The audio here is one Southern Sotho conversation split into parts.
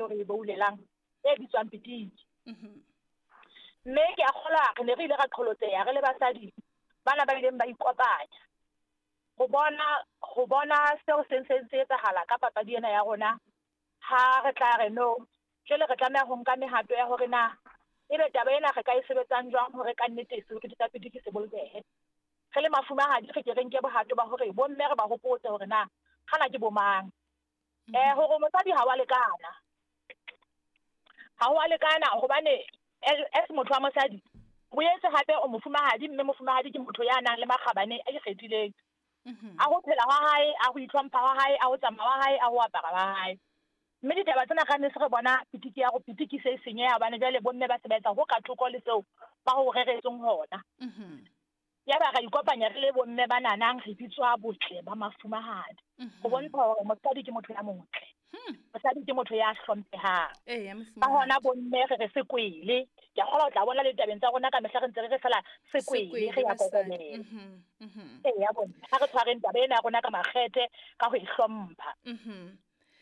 eo re e boulelang e bitswang pitiki. Mme ke a kgolwa re ne re ile ra qholotseha re le basadi bana ba ileng ba ikopanya ho bona ho bona seo se ntseng se etsahala ka papadi ena ya rona. Ha re tla re no, jwale re tlameha ho nka mehato ya hore na ebe taba ena re ka e sebetsang jwang hore ka nnete seriti sa pitiki se bolokehe. Re le mafumahadi re ke re nke bohato ba hore bomme re ba hopotse hore na kgana ke bomang. Hore mosadi ha wa lekana. Ha wa lekana hobane as motho wa mosadi boetse hape o mofumahadi, mme mofumahadi ke motho ya nang le makgabane a ikgethileng. A ho phela hwa hae, a ho itlhompha hwa hae, a ho tsamaya hwa hae, a ho apara hwa hae. Mme ditaba tsena ka ne se re bona pitiki ya go pitiki se senyeha hobane jwale bomme ba se ba etsa ho ka thoko le seo ba ho reretsweng hona. Ya ba ra ikopanya re le bomme ba nanang re bitswa botle ba mafumahadi. Ho bontsha hore mosadi ke motho ya motle. Mosadi ke motho ya hlomphehang. Ka hona bomme re re sekwele. Ke a kgolwa o tla bona le ditabeng tsa rona ka mehla re ntse re re fela sekwele re ya kokobela. Eya bomme, ha re tshwareng taba ena ya rona ka makgethe ka ho e hlompha.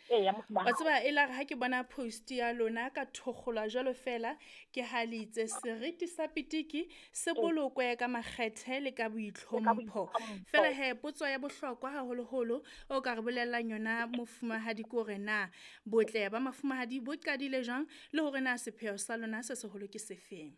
Eya mofumahadi. Wa tseba e la re ha ke bona post ya lona ka thokgolwa jwalo fela ke ha le itse seriti sa pitiki se bolokwe ka makgethe le ka boitlhompho. Fela he potso ya bohlokwa haholoholo o ka re bolellang yona mofumahadi ke hore na botle ba mafumahadi bo qadile jwang le hore na sepheo sa lona se seholo ke sefeng.